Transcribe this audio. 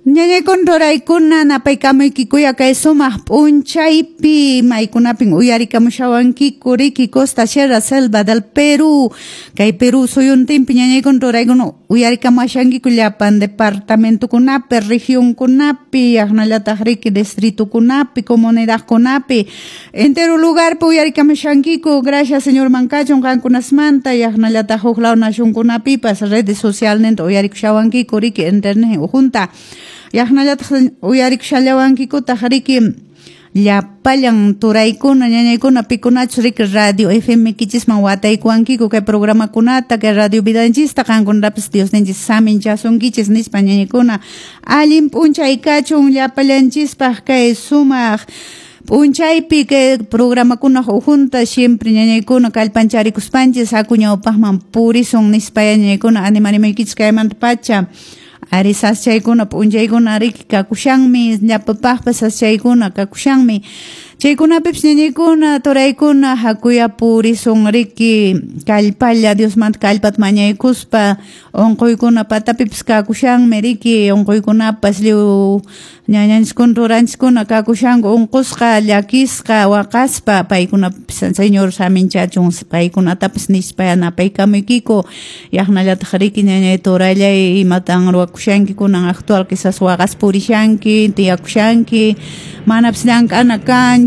Ñañaykuna turaykuna napaykamuykikuya kay sumaq p'unchaypi maykunapin uyarikamushawankiku riki Costa Sierra Selva del Perú kay Perú suyuntinpi ñañaykuna turaykuna uyarikamushankiku llapan departamentokunapi regionkunapi yaqnallataq riki distritokunapi comunidadkunapi entero lugarpi uyarikamushankiku. Gracias Señor mankachun qankunasmanta yaqnallataq huk law nacionkunapipas redes socialninta uyarikushawankiku riki internet ujunta yaqnallataq uyarikushallawankikutaq riki llapallan turaykuna ñañaykuna pikunachus riki radio FM kichisman wataykuwankiku kay programakunata kay radio vidanchista qankunatapis Diosninchis saminchasunkichis nispa ñañaykuna allin p'unchay kachun llapallanchispaq kay sumaq p'unchaypi kay programakunaq ujunta siempre ñañaykuna kallpancharikuspanchis haku ñawpaqman purisun nispa ñañaykuna animarimaykichis kaymanta pacha. Ari saschaykuna p'unchaykuna riki kakushanmi llapapaqpas saschaykuna kakushanmi chaykunapipis ñañaykuna turaykuna hakuya purisun riki kallpalla Diosmanta kallpata mañaykuspa unquykuna patapipis kakushanmi riki unquykunapas lliw ñañanchiskuna turanchiskuna kakushanku unqusqa llakisqa waqaspa paykunapis Señor saminchachun paykunatapas nispa yanapaykamuykiku yaqnallataq riki ñañay turallay imatan ruwakushanki kunan actual quizás waqaspa purishanki tiyakushanki manapis llank'ana kanchu.